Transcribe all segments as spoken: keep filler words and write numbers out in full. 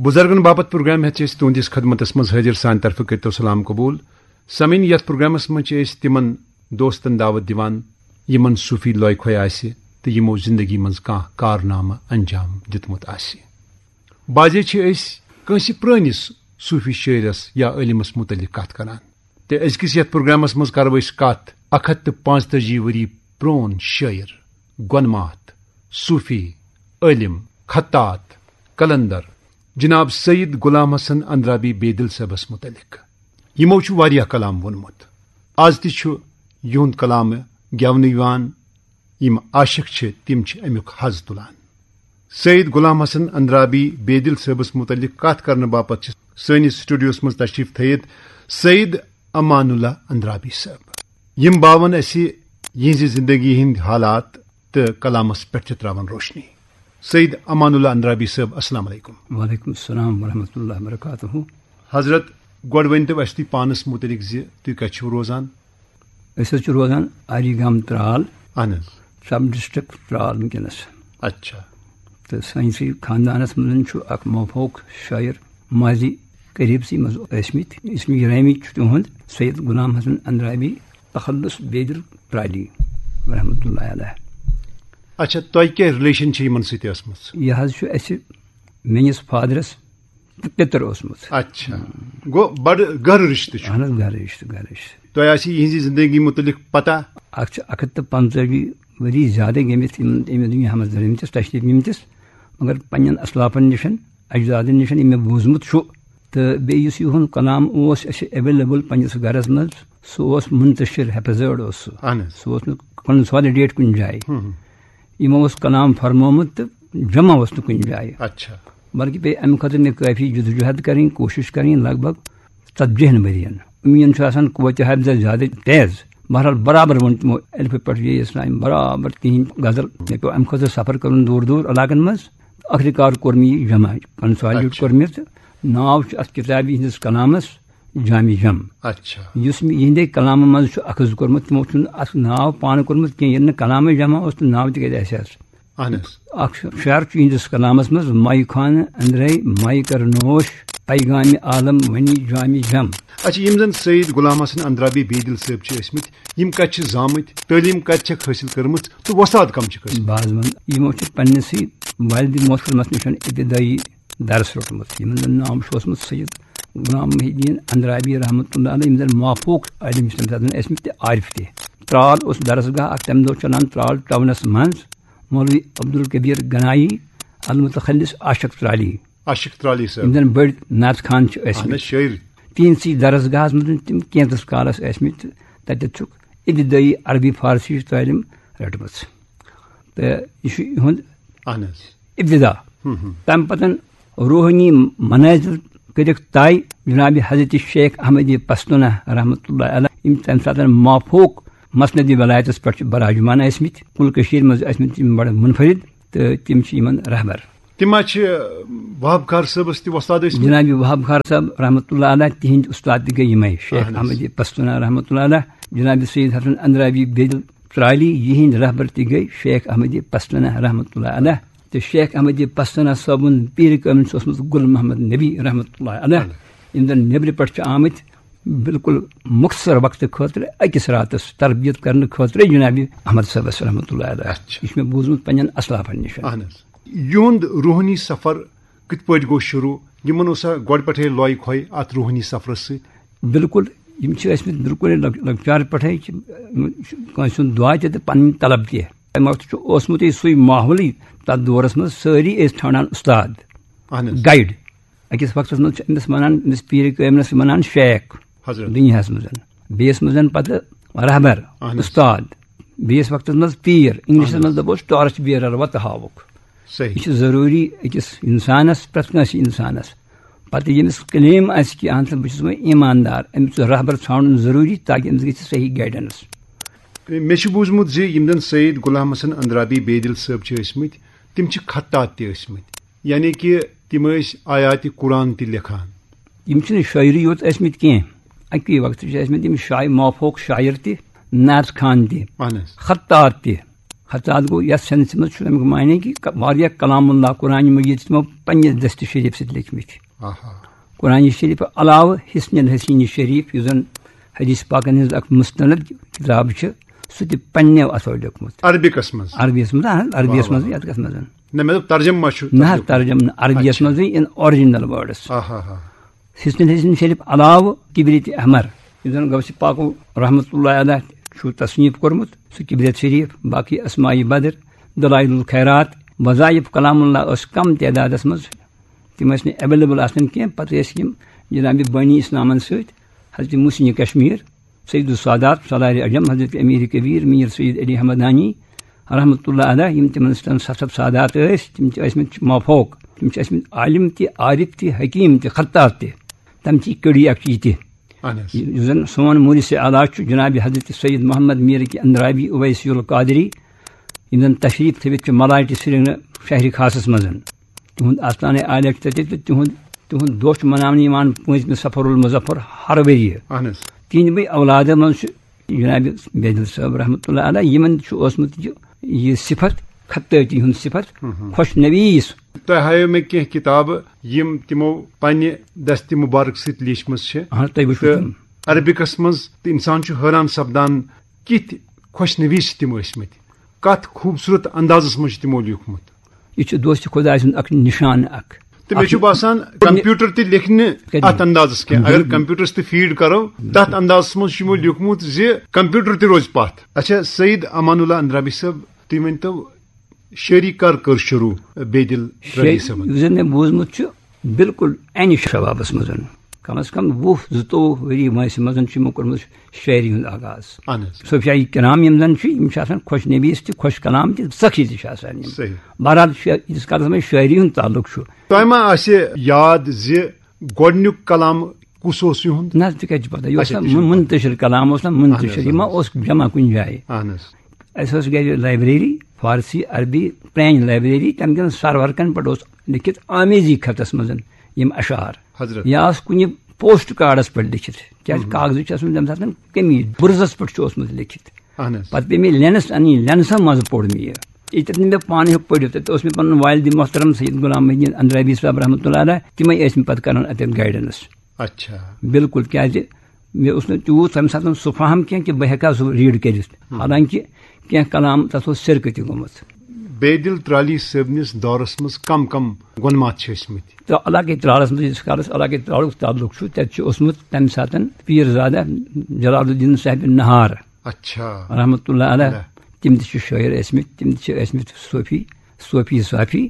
بزرگن باپتھ پروگرام ہیتھ چھِ أسۍ تُہنٛدِس خدمتس منٛز حٲضِر۔ سانہِ طرفہٕ کٔرتو سلام قبول۔ سامعین، یتھ پروگرامس منٛز چھِ أسۍ تِمن دوستن دعوت دِوان، یِمن صوفی لوے کھوے آسہِ تہٕ یِمو زندگی منٛز کانٛہہ کارنامہٕ انجام دیُتمُت آسہِ۔ بعضے چھِ أسۍ کٲنٛسہِ پرٲنِس صوفی شٲعرس یا عٲلمس متعلق کتھ کران۔ تہٕ أزکِس یتھ پروگرامس منٛز کرو أسۍ کتھ اکھ ہتھ تہٕ پانٛژتٲجی ؤری پرون شٲعر، گۄنماتھ، صوفی، عٲلم، خطاط، قلندر، جناب سید غلام حسن اندرابی بیدل صٲبس متعلق۔ یِمو چھُ واریاہ کلام ووٚنمُت۔ از تہِ چھُ یِہُنٛد کلام گٮ۪ونہٕ یِوان۔ یِم عاشق چھِ، تِم چھِ اَمیُک حظ تُلان۔ سید غلام حسن اندرابی بیدل صٲبس متعلق کتھ کرنہٕ باپتھ چھِ سٲنِس سٹوڈیوس منٛز تشریف تھٲیِتھ سید امان اللہ اندرابی صٲب۔ یِم باون اَسہِ یِہنٛزِ زندگی ہٕنٛدۍ حالات تہٕ کلامس پٮ۪ٹھ تہِ تراون روشنی۔ سید امان اللہ اندرابی صٲب، السلام علیکم۔ وعلیکم السلام ورحمۃ اللہ وبرکاتہ۔ حضرت، گۄڈٕ ؤنۍ تو اَسہِ تُہۍ پانس متعلق زِ تُہۍ کتہِ چھِو روزان؟ أسۍ حظ چھِ روزان آری گام ترال، اہن حظ۔ سب ڈسٹرکٹ ترال وٕنکیٚنس۔ اچھا۔ تہٕ سٲنِسٕے خاندانس منٛز چھُ اکھ موفوق شٲعر، ماضی قریٖبسٕے منٛز ٲسمٕتۍ۔ اسمِ گرامی چھُ تِہُنٛد سید غلام حسن اندرابی تخلص بیدل ترالی رحمتہ اللہ علیہ۔ اچھا، تۄہہِ کیٛاہ ریلیشن چھِ یِمن سۭتۍ ٲسمٕژ؟ یہِ حظ چھُ اَسہِ میٲنِس فادرس تہٕ پِتٕر اوسمُت۔ اچھا، گوٚو بڑٕ گہرٕ رِشتہٕ چھُ۔ اہن حظ، گہرٕ رِشتہٕ، گہرٕ رِشتہٕ۔ تۄہہِ آسہِ یِہنٛزِ زندگی متعلق پتہ؟ اکھ چھِ اکھ ہتھ تہٕ پنٛژٲہِم ؤری زیادَے گٔمٕتۍ یِم، ییٚمہِ دُنیاہَس منٛز درٲمتِس، تشریٖف نِمتِس، مگر پنٛنٮ۪ن اسلافَن نِش، اجدادَن نِش یِم مےٚ بوٗزمُت چھُ۔ تہٕ بیٚیہِ یُس یِہُنٛد کلام اوس اَسہِ ایویلیبل پنٛنِس گَرَس منٛز، سُہ اوس منتشر، حفظٲڑ اوس سُہ۔ اہن حظ۔ سُہ اوس نہٕ کنسالیڈیٹ کُنہِ جایہِ۔ ہُم۔ یِمو اوس کلام فرمومُت تہٕ جمع اوس نہٕ کُنہِ جایہِ۔ اچھا۔ بلکہِ پیٚیہِ اَمہِ خٲطرٕ مےٚ کٲفی جدوجہد کَرٕنۍ، کوٗشِش کَرٕنۍ، لگ بھگ ژتجی ہن ؤرین۔ اُمیٖد چھُ آسان قوتِ حافظہ زیادٕ تیز۔ بہرحال، برابر ووٚن تِمو الفہٕ پٮ۪ٹھ یے اسلام، برابر تِہِنٛدۍ غزل۔ مےٚ پیوٚو اَمہِ خٲطرٕ سفر کَرُن دوٗر دوٗر علاقن منٛز۔ ٲخری کار کوٚر مےٚ یہِ جمع، کنسالیٹ اچھا۔ کوٚر مےٚ، تہٕ ناو چھُ اَتھ کِتابہِ ہِنٛدِس کلامس جامع جم۔ اچھا۔ یُس مےٚ یِہِنٛدے کلامہٕ منٛز چھُ اخذ کوٚرمُت، تِمو چھُنہٕ اَتھ ناو پانہٕ کوٚرمُت کینٛہہ، ییٚلہِ نہٕ کلامٕے جمع اوس تہٕ ناو تہِ کَتہِ آسہِ ہَس؟ اہن حظ۔ اکھ شعر چھُ یِہنٛدِس کلامس منٛز، مایہِ خانہٕ أنٛدرے مایہِ کر نوش، پیغامِ عالم ونی جامِ جم۔ اچھا، یِم زن سید غلام حسن اندرابی بیدل صٲب چھِ ٲسمٕتۍ، یِم کتہِ چھِ زامٕتۍ، تعلیٖم کتہِ چھکھ حٲصِل کٔرمٕژ تہٕ وۄستاد کم چھِکھ ٲسمٕتۍ؟ بہٕ حظ ونہٕ، یِمو چھِ پننِسٕے والدِ محترمس نِش ابتدٲیی درس روٚٹمُت، یِمن زن ناو چھُ اوسمُت سید غلام محی الدین اندرابی رحمتہ اللہ علیہ، یِم زن مافوق عٲلم چھِ تمہِ ساتہٕ ٲسمٕتۍ تہٕ عارف تہِ۔ ترال اوس درسگاہ اکھ تمہِ دۄہ چلان ترال ٹاونس منٛز، مولوی عبدالکبیر گنایی المتخلص عاشق ترالی۔ عاشق ترالی صٲب۔ یِم زن بٔڑۍ نعت خوان چھِ ٲسمٕتۍ۔ اہن حظ، شٲعر۔ تِہنٛدسٕے درسگاہس منٛز تِم کینٛژس کالس ٲسمٕتۍ، تتہِ چھُکھ ابتدٲیی عربی فارسی ہٕچ تعلیٖم رٔٹمٕژ۔ تہٕ یہِ چھُ یِہُنٛد اہن حظ۔ ابتدا۔ ہم ہم۔ تمہِ پتن روحٲنی منازل کٔرِکھ طے جناب حضرت شیخ احمد پستونہ رحمتہ اللہ علیہ، یِم تمہِ ساتن مافوق مسند ولایتس پٮ۪ٹھ چھِ براجمان ٲسمٕتۍ، کُل کٔشیٖرِ منٛز ٲسمٕتۍ یِم بڑٕ منفرد، تہٕ تِم چھِ یِمن رہبر۔ تِم ما چھِ وہاب کار صٲبس تہِ وۄستاد ٲسمٕتۍ؟ جناب وہاب کار صٲب رحمتہ اللہ علیہ، تِہنٛدۍ اُستاد تہِ گٔے یِمے، شیخ اہن حظ۔ احمد پستونہ رحمتہ اللہ علیہ، جناب سید حسن اندرابی بیدل ترالی، یِہنٛدۍ رہبر تہِ گٔے شیخ احمد پستونہ رحمتہ اللہ علیہ۔ تہٕ شیخ احمد پستونہ صٲبُن پیٖر کٲمِل چھُ اوسمُت گُل محمد نبی رحمتہ اللہ علیہ۔ اہن۔ یِم زن نیٚبرِ پٮ۪ٹھ چھِ آمٕتۍ بالکل مختصر وقتہٕ خٲطرٕ أکِس راتس تربیت کرنہٕ خٲطرٕ جناب احمد صٲبس رحمتہ اللہ علیہ۔ اچھا۔ یہِ چھُ مےٚ بوٗزمُت پننٮ۪ن اسلافن نِش۔ اہن حظ۔ یِہُنٛد روحٲنی سفر کِتھ پٲٹھۍ گوٚو شروٗع؟ یِمن اوسا گۄڈٕ پٮ۪ٹھَے لۄے کھۄے اَتھ روحٲنی سفرس سۭتۍ؟ بالکل، یِم چھِ ٲسمٕتۍ بالکل لۄک-، لۄکچارٕ پٮ۪ٹھَے چھِ، یِم چھِ کٲنٛسہِ ہُنٛد دُعا تہِ تہٕ پنٕنۍ طلب تہِ۔ تَمہِ وقتہٕ چھُ اوسمُتٕے سُے ماحولٕے تَتھ دورس منٛز، سٲری ٲسۍ ژھانٛڈان اُستاد، اہن حظ۔ گایڈ۔ أکِس وقتس منٛز چھِ أمِس وَنان، أمِس پیٖرِ کٲمِلس وَنان شیخ حضرت۔ دُنیاہس منٛز۔ بیٚیِس منٛز پتہٕ رہبر، اہن حظ۔ اُستاد۔ بیٚیِس وقتس منٛز پیٖر، انگلشس اہن حظ۔ منٛز دَپوس ٹارچ بیرر، وَتہٕ ہاوُکھ۔ صحیح۔ یہِ چھُ ضروٗری أکِس اِنسانَس، پرٛٮ۪تھ کٲنٛسہِ اِنسانَس۔ پَتہٕ ییٚمِس کلیم آسہِ کہِ اَہَن سا بہٕ چھُس وۄنۍ ایٖماندار، أمِس چھُ رہبر ژھانٛڈُن ضروٗری تاکہِ أمِس گژھِ صحیح گایڈنس۔ مےٚ چھُ بوٗزمُت زِ یِم زَن سید غلام حسن اندرابی بیدل صٲب چھِ ٲسمٕتۍ، تِم چھِ خطاط تہِ ٲسمٕتۍ، یعنی کہِ تِم ٲسۍ آیاتِ قرآن تہِ لیکھان۔ یِم چھِنہٕ شٲعری یوت ٲسمٕتۍ کینٛہہ، اَکی وقتہٕ چھِ ٲسمٕتۍ یِم شاعر، مافوق شاعر تہِ، نعت خوان تہِ، اہن حظ۔ خطاط تہِ۔ ہرتال گوٚو یَتھ سینسہِ منٛز چھُ اَمیُک معنی کہِ ک-، واریاہ کلام اللہ قرآن مجید چھِ تِمو پننہِ دستِ شریف سۭتۍ لیکھمٕتۍ۔ آہا۔ قرآن شریف علاوٕ حصن الحسین شریف، یُس زن حدیث پاکن ہٕنٛز اکھ مستند کتاب چھِ، سُہ تہِ پننیو اتھو لیوٚکھمُت۔ عربکس منٛز؟ عربیس منٛز، اہن، عربیس واہ، منٛز، واہ۔ یتھ کس منٛز؟ نہ، مےٚ دوٚپ ترجمہٕ ما چھُ نہ حظ، تتھ لیوٚکھمُت؟ ترجمہٕ نہٕ۔ عربیس اچھا۔ منٛزٕے in original words۔ آہا ہا۔ حصن الحسین شریف علاوٕ کبریت احمر، یُس زن غوث پاکو رحمتہ اللہ علیہ چھُ تصنیف کوٚرمُت، سُہ کبریت شریف، باقی اسماء بدر، دلائل الخیرات، وظائف کلام اللہ ٲس کم تعدادس منٛز، تِم ٲسۍ نہٕ available آسان کینٛہہ۔ پتہٕ ٲسۍ یِم جناب بانی اسلامن سۭتۍ، حضرت محسن کشمیر، سید السادات، سالار عجم، حضرت امیر کبیر، میر سید علی حمدانی رحمتہ اللہ علیہ، یِم تِمن سۭتۍ سفر سادات ٲسۍ، تِم چھِ ٲسمٕتۍ مافوق، تِم چھِ ٲسمٕتۍ عالم تہِ، عارف تہِ، حکیم تہِ، خطاط تہِ۔ تِم چھِ کٔڑی اکھ یہِ تہِ۔ اہن حظ۔ یُس زن سون مورث اعلیٰ چھُ جناب حضرت سید محمد میر کے اندرابی اویسی القادری، یِم زن تشریف تھٲوِتھ چھِ ملاٹہِ سرینگر شہرِ خاصس منٛز۔ تِہُنٛد آستانہِ عالیٰ چھُ تَتہِ تہٕ تِہُنٛد، تِہُنٛد دۄہ چھُ مناونہٕ یِوان پٲنٛژمہِ صفر المظفر ہر ؤریہِ۔ اہن حظ۔ تِہنٛدِ بٔے اولادٕ منٛز چھُ جناب بیدل صٲب رحمتہ اللہ علیہ، یِمن چھُ اوسمُت یہِ، یہِ صفت، خطٲطی ہُنٛد صفت، ہم ہم۔ خۄش نویٖس۔ تۄہہِ ہٲیو مےٚ کینٛہہ کِتابہٕ، یِم تِمو پننہِ دستِ مُبارک سۭتۍ لیچھمٕژ چھِ۔ اہن، تُہۍ وٕچھِو تہٕ تِم۔ عربکس منٛز تہٕ انسان چھُ حٲران سپدان، کِتھۍ خۄش نویٖس چھِ تِم ٲسمٕتۍ، کتھ خوٗبصوٗرت اندازس منٛز چھُ تِمو لیوٗکھمُت۔ یہِ چھُ دوستِ خۄداے سُنٛد اکھ نِشان اکھ۔ تہٕ مےٚ چھُ باسان، کمپیوٹر تہِ لیکھِ نہٕ کتہِ؟ اتھ اندازس کینٛہہ۔ اگر بِلکُل۔ کمپیوٹرس تہِ فیٖڈ کرو، تتھ اندازس منٛز چھُ یِمو لیوٗکھمُت زِ کمپیوٹر تہِ روزِ پتھ۔ اچھا، سعید امان اللہ اندرابی صٲب، تُہۍ ؤنۍتو، شٲعری کر کٔر شروٗع بیدل ترٛٲوِتھ شٲعری صٲبن؟ یُس زن مےٚ بوٗزمُت چھُ، بِلکُل انہِ شبابس منٛز، کم از کم وُہ زٕتووُہ ؤری وٲنٛسہِ منٛز چھُ یِمو کوٚرمُت شٲعری ہُنٛد آغاز۔ اہن حظ۔ صوفیاء کرام یِم زن چھِ، یِم چھِ آسان خۄش نویٖس تہِ، خۄش کلام تہِ، سخی تہِ چھِ آسان یِم۔ صحیح۔ بہرحال، شا-، ییٖتِس کالس وۄنۍ شٲعری ہُنٛد تعلق چھُ۔ تۄہہِ ما آسہِ یاد زِ گۄڈٕنیُک کلام کُس اوس یِہُنٛد؟ نہ حظ، تہِ کتہِ چھُ پتہ؟ یہِ اوس اچھا، نہ تہِ چھُ۔ منتشر کلام، اوس نہ منتشر، اہن حظ، یہِ ما اہن حظ۔ اوس جمع کُنہِ جایہِ؟ اہن حظ۔ اَسہِ ٲس گرِ لایبریری، فارسی، عربی، پرٛانہِ لایبریری، تَمہِ کٮ۪ن سروَرکَن پٮ۪ٹھ اوس لیکھِتھ آمیزی خطس منٛز یِم اشعار۔ حضرت۔ یا ٲس کُنہِ پوسٹ کارڈس پٮ۪ٹھ لیکھِتھ، کیٛازِ ہُم۔ کاغذٕچ چھِ ٲسمٕژ تَمہِ ساتہٕ کمی، بُرزَس پٮ۪ٹھ چھُ اوسمُت لیکھِتھ۔ اہن حظ۔ پَتہٕ پیٚیہِ مےٚ لینس اَنٕنۍ، لینسَس منٛز پوٚر مےٚ یہِ۔ ییٚتٮ۪تھ نہٕ مےٚ پانہٕ ہیوٚک پٔرِتھ، تَتہِ اوس مےٚ پَنُن والدِ محترم سید غلام محی الدین اندرابی صٲب رحمتہ اللہ علیہ، تِمَے ٲسۍ مےٚ پَتہٕ کران اَتٮ۪تھ گایڈنس۔ اچھا۔ بِلکُل، کیٛازِ مےٚ اوس نہٕ تیوٗت تَمہِ ساتہٕ سُہ فہم کینٛہہ کہِ بہٕ ہٮ۪کہٕ ہا سُہ ریٖڈ کٔرِتھ۔ ہم۔ حالانکہِ کینٛہہ کلام تَتھ اوس سِرکہٕ تہِ گوٚمُت۔ بیدل ترٛالی صٲبنِس دورس منٛز کم کم گۄنمات چھِ ٲسۍ مٕتۍ؟ تہٕ علاقے ترٛالس منٛز، یُس کالس علاقے ترٛالُک تعلق چھُ، تَتہِ چھُ اوسمُت تَمہِ ساتہٕ پیٖر زادہ جلال الدین صاحبِ نہار اچھا۔ رحمتہ اللہ علیہ۔ اللہ۔ تِم تہِ چھِ شٲعر ٲسمٕتۍ، تِم تہِ چھِ ٲسمٕتۍ صوفی، صوفی صافی۔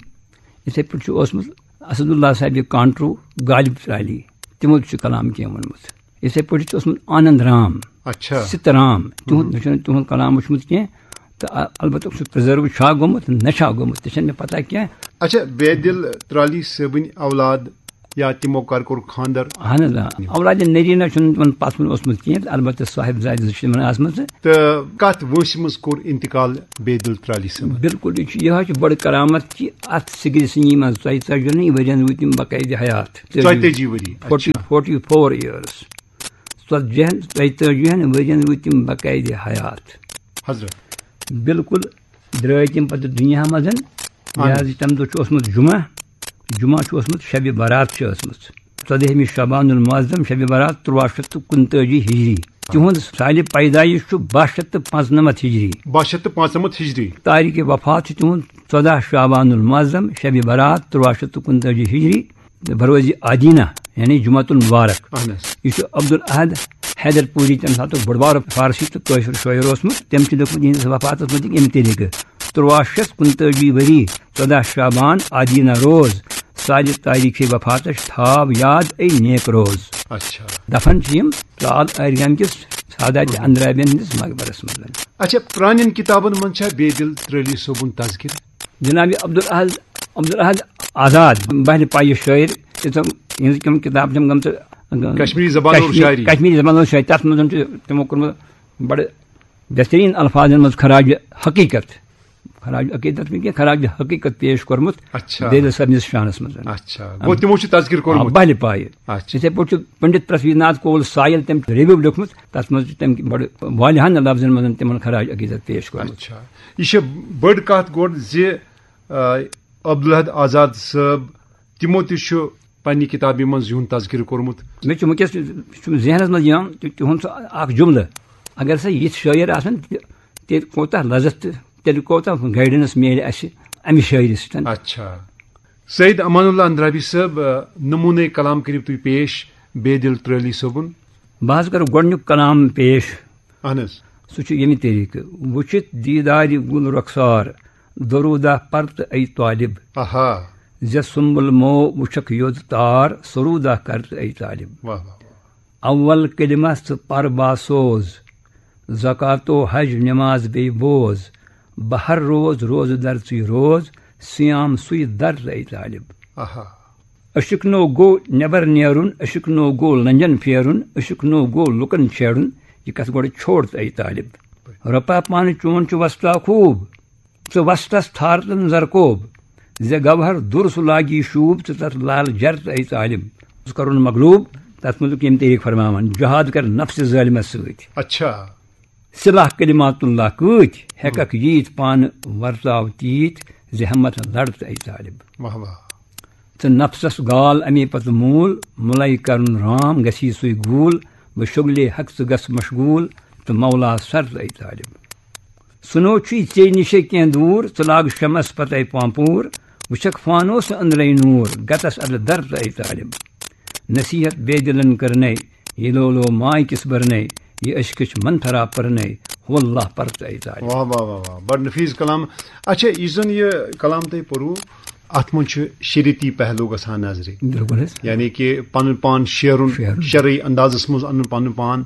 یِتھَے پٲٹھۍ چھُ اوسمُت اسد اللہ صاحبِ کانٹرو، غالب ترٛالی، تِمو تہِ چھُ کلام کینٛہہ ووٚنمُت۔ یِتھَے پٲٹھۍ چھُ اوسمُت آنند رام، اچھا۔ ست رام، تِہُنٛد، ہُم۔ مےٚ چھُنہٕ تِہُنٛد کلام وُچھمُت کینٛہہ، تہٕ ا-، البتہ سُہ پرزرو چھا گوٚمُت، نہ چھا گوٚمُت، تہِ چھَنہٕ مےٚ پتہ کینٛہہ۔ اچھا، بیدل ترٛالی صٲبٕنۍ اولاد یا تِمو کر کوٚر خانٛدر؟ اہن حظ، آ۔ اولادِ نریٖنہ چھُنہٕ تِمن پتھ کُن اوسمُت کینٛہہ، البتہ صاحب زادِ زٕ چھِ تِمن آسمژٕ۔ تہٕ کتھ وٲنٛسہِ منٛز کوٚر انتقال بیدل ترٛالی صٲبن؟ بِلکُل، یہِ چھُ، یہِ حظ چھُ بٔڑ کرامت کہِ اتھ سِگرِ سِنی منٛز ژۄیہِ ژتجی ؤرین روٗدۍ تِم باقٲعدٕ حیات۔ ژۄیہِ تٲجی ؤری، فورٹی، اچھا۔ Forty four years۔ ژتجی ہن، ژۄیہِ تٲجی ہن ؤرین روٗدۍ تِم باقٲعدٕ حیات۔ حضرت۔ بِلکُل، درٛٲے تِم پتہٕ دُنیا منٛز۔ اہن۔ لہذا تَمہِ دۄہ چھُ اوسمُت جمعہ، جمعہ چھُ اوسمُت، شبِ برات چھِ ٲسمٕژ۔ ژۄدہمہِ شعبان المعظم، شبِ برات تُرٛواہ شیٚتھ تہٕ کُنتٲجی ہجری۔ تِہُنٛد سالِ پیدٲیِش چھُ باہ شیٚتھ تہٕ پانٛژنمتھ ہجری۔ باہ شیٚتھ تہٕ پانٛژنمتھ ہجری۔ تاریخِ وفات چھُ تِہُنٛد ژۄداہ شعبان المعظم، شبِ برات تُرٛواہ شیٚتھ تہٕ کُنتٲجی ہجری۔ بروزِ آدینہ، یعنی جمعۃ المبارک۔ اہن حظ۔ یہِ چھُ عبدالاحد حیدر پوری، تَمہِ ساتُک بٔڑ بار فارسی تہٕ کٲشُر شٲعر اوسمُت۔ تٔمۍ چھُ لیوٗکھمُت یِہنٛدِس وفاتس مُتعلق اَمہِ طریٖقہٕ: تُرٛواہ شیٚتھ کُنتٲجی ؤری، ژۄداہ شعبان، آدینہ روز، سالِ تاریخِ وفاتش تھاو یاد اے نیک روز۔ اچھا۔ دفن چھِ یِم ترال ٲرۍ گامہِ کِس ساداتِ اندرابین ہٕنٛدِس مقبرس منٛز۔ اچھا، پرٛانٮ۪ن کِتابن منٛز چھا بیدل ترٛٲلی صٲبُن تذکرٕ؟ جناب عبدالاحد، عبدالاحد آزاد، بحرِ پایہِ شٲعر، تِم، یِہٕنٛز تِم کِتاب چھَم گٔمژٕ، کشمیری زبان اور کشمیر-، شاعری۔ کشمیری زبان اور شاعری، تَتھ منٛز چھُ تِمو کوٚرمُت بڑٕ بہترین الفاظن منٛز خراج حقیقت۔ خراج عقیدت نہٕ کینٛہہ، خراج حقیقت پیش کوٚرمُت اچھا۔ بیدل صٲبنِس شانس منٛز۔ اچھا۔ گوٚو تِمو چھُ تذکر آ، کوٚرمُت۔ بہلہِ پایہِ۔ اچھا۔ یِتھے پٲٹھۍ چھُ پنڈت پرتھوی ناتھ کول سایل تٔمۍ ریویو لیوٚکھمُت، تتھ منٛز چھُ تٔمۍ بڑٕ والیاہن لفظن منٛز تِمن خراج عقیدت پیش کوٚرمُت۔ اچھا۔ یہِ چھِ بٔڑ کتھ گۄڈٕ زِ، آ، عبدالحد آزاد صٲب، تِمو تہِ چھُ پننہِ کتابہِ منٛز یِہُنٛد تذکر کوٚرمُت۔ مےٚ چھُ وٕنکیٚس چھُم ذہنس منٛز یِوان تہِ-، تِہُنٛد سُہ اکھ جملہٕ، اگر سا یِتھۍ شٲعر آسن، تہِ-، تیٚلہِ کوتاہ لذت تہٕ تیٚلہِ کوتاہ گائیڈنس میلہِ اسہِ امہِ شٲعری سۭتۍ۔ اچھا۔ سید امان اللہ اندرابی صٲب، آ، نمونے کلام کٔرِو تُہۍ پیش بیدل ترٲلی صٲبُن۔ بہٕ حظ کرٕ گۄڈٕنیُک کلام پیش۔ اہن حظ۔ سُہ چھُ ییٚمہِ طریٖقہٕ، وٕچھِتھ دیٖدارِ گُل رۄخسار، درودہ پر تہٕ اے طالب۔ آہا۔ زِ سُمبل مو وٕچھکھ یوٚد تار، سرودہ کر تہٕ اے طالب۔ واہ واہ۔ اول کلمہ ژٕ پر باسوز، زکاتو حج نماز بیٚیہِ بوز، بہٕ ہر روز روزٕ در ژٕے روز، صیام سُے در تہٕ اے طالب۔ آہا۔ عشق نو گوٚو نٮ۪بر نیرُن، عشق نو گوٚو لنجن پھیرُن، عشق نو گوٚو لُکن چھیڑُن، یہِ کتھ گۄڈٕ چھوڑ تہٕ اے طالب۔ رۄپا پانہٕ چون چھُ وستا خوٗب، ژٕ وسطس تھارتن زرکوب، زِ گوہر دُر سُہ لاگی شوٗب، ژٕ تتھ لال جر تہٕ اے طالب۔ ژٕ کرُن مغلوب، تتھ مُتعلق ییٚمہِ طریٖقہٕ فرماوان، جہاد کر نفسِ ظٲلمس سۭتۍ۔ اچھا۔ سلاح کلمات اللہ کۭتۍ، ہیککھ ییٖتۍ پانہٕ ورتاو تیٖتۍ، زِ ہمت لڑ تہٕ اے طالب۔ واہ واہ۔ تہٕ نفسس گال امی پتہٕ موٗل، مُلے کرُن رام گژھی سُے گوٗل، بہٕ شُگلے حق ژٕ گژھ مشغوٗل، تہٕ مولا سر تہٕ اے طالب۔ سُنو چھُے ژے نِشے کینٛہہ دوٗر، ژٕ لاگ شمس پتے پانپوٗر، وٕچھکھ فانوس أنٛدرے نوٗر، گتس ادٕ در تہٕ اے طالب۔ نصیحت بے دلن کرنے، یہ لولو ماے کس برنے، یہ عشقچ منتھرا پرنے، ہو اللہ پر تہٕ اے طالب۔ واہ واہ واہ واہ، بڑ نفیس کلام۔ اچھا، یُس زن یہِ کلام تۄہہِ پوٚروٕ، اتھ منٛز چھُ شریعتی پہلو گژھان نظرِ۔ بِلکُل حظ۔ یعنی کہِ پنُن پان شیرُن، شیرُن۔ شرعی اندازس منٛز انُن پنُن پان۔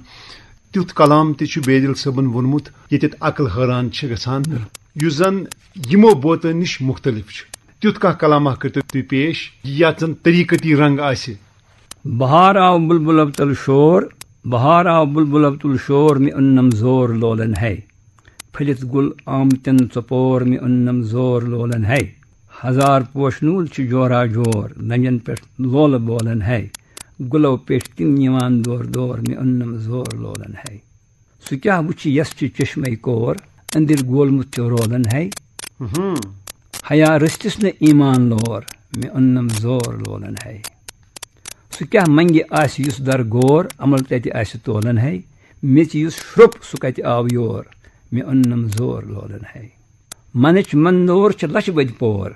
تیُتھ کلام تہِ چھُ بیدل صٲبن ووٚنمُت، ییٚتٮ۪تھ عقل حٲران چھِ گژھان، یُس زن یِمو بوتن نِش مُختلف چھُ۔ تیُتھ کانٛہہ کلامہ کٔرتو تُہۍ پیش، یتھ زن طریقتی رنگ آسہِ۔ بہار آو بلبل ابتل شور، بہار آو بلبل ابتل شور، مےٚ اوٚننم زور لولن ہے۔ پھٔلِتھ گُل آمتٮ۪ن ژۄپور، مےٚ اوٚننم زور لولن ہے۔ ہزار پوشہٕ نوٗل چھِ جورا جور، لنجن پٮ۪ٹھ لولہٕ بولن ہے۔ گُلو پٮ۪ٹھ تِم نِوان دور دور، مےٚ اوٚننم زور لولن ہے۔ سُہ کیٛاہ وُچھِ یس چھِ چشمے کور، أنٛدٕرۍ گولمُت چھُ رولن ہے۔ ہم۔ حیا رٔستِس نہٕ ایمان لور، مےٚ اوٚننم زور لولن ہے۔ سُہ کیٛاہ منگہِ آسہِ یُس در غور، عمل تتہِ آسہِ تولن ہے۔ میٚژِ یُس شرٛوٚپ سُہ کتہِ آو یور، مےٚ اوٚننم زور لولن ہے۔ منٕچ مندور چھِ لچھ بٔدۍ پور،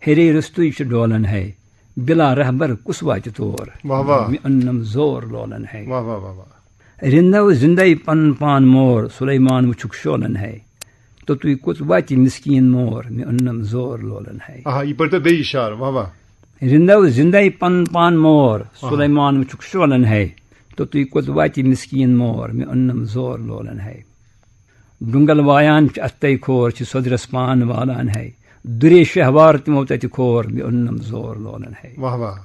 ہیرے رٔستُے چھُ ڈولن ہے۔ بلا رہبر کُس واتہِ تور، واہ واہ۔ مےٚ اوٚننم زور لولن ہے۔ واہ واہ واہ واہ۔ رِندو زِندَے پَنُن پان مور، سُلیمان وٕچھُکھ شولَن ہے۔ توٚتُے کوٚت واتہِ مِسکیٖن مور، مےٚ اوٚننَم زور لولَن ہے۔ آہا، یہِ پٔرۍتو بیٚیہِ اِشارٕ، واہ واہ۔ رِندو زِندَے پَنُن پان مور، آہا۔ سُلیمان وٕچھُکھ شولَن ہے۔ توٚتُے کوٚت واتہِ مِسکیٖن مور، مےٚ اوٚننَم زور لولَن ہے۔ ڈُنگل وایان چھِ اَتھَے کھور، چھِ سوٚدرَس پان والان ہے۔ دُرے شہوار تِمو تَتہِ کھور، مےٚ اوٚننَم زور لولَن ہے۔ واہ واہ۔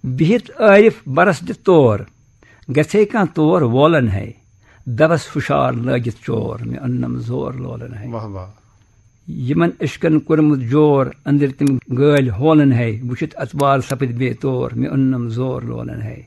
بِہِتھ عٲرِف بَرَس دِتھ تور، گژھے کانٛہہ تور وولن ہے۔ دَبَس ہُشار لٲگِتھ چور، مےٚ اوٚننَم زور لولن ہے۔ واہ واہ۔ یِمن عشقن کوٚرمُت جور، أنٛدٕرۍ تِم گٲلۍ ہولن ہے۔ وٕچھِتھ اَتوار سپٕدۍ بے تور، مےٚ اوٚننَم زور لولن ہے۔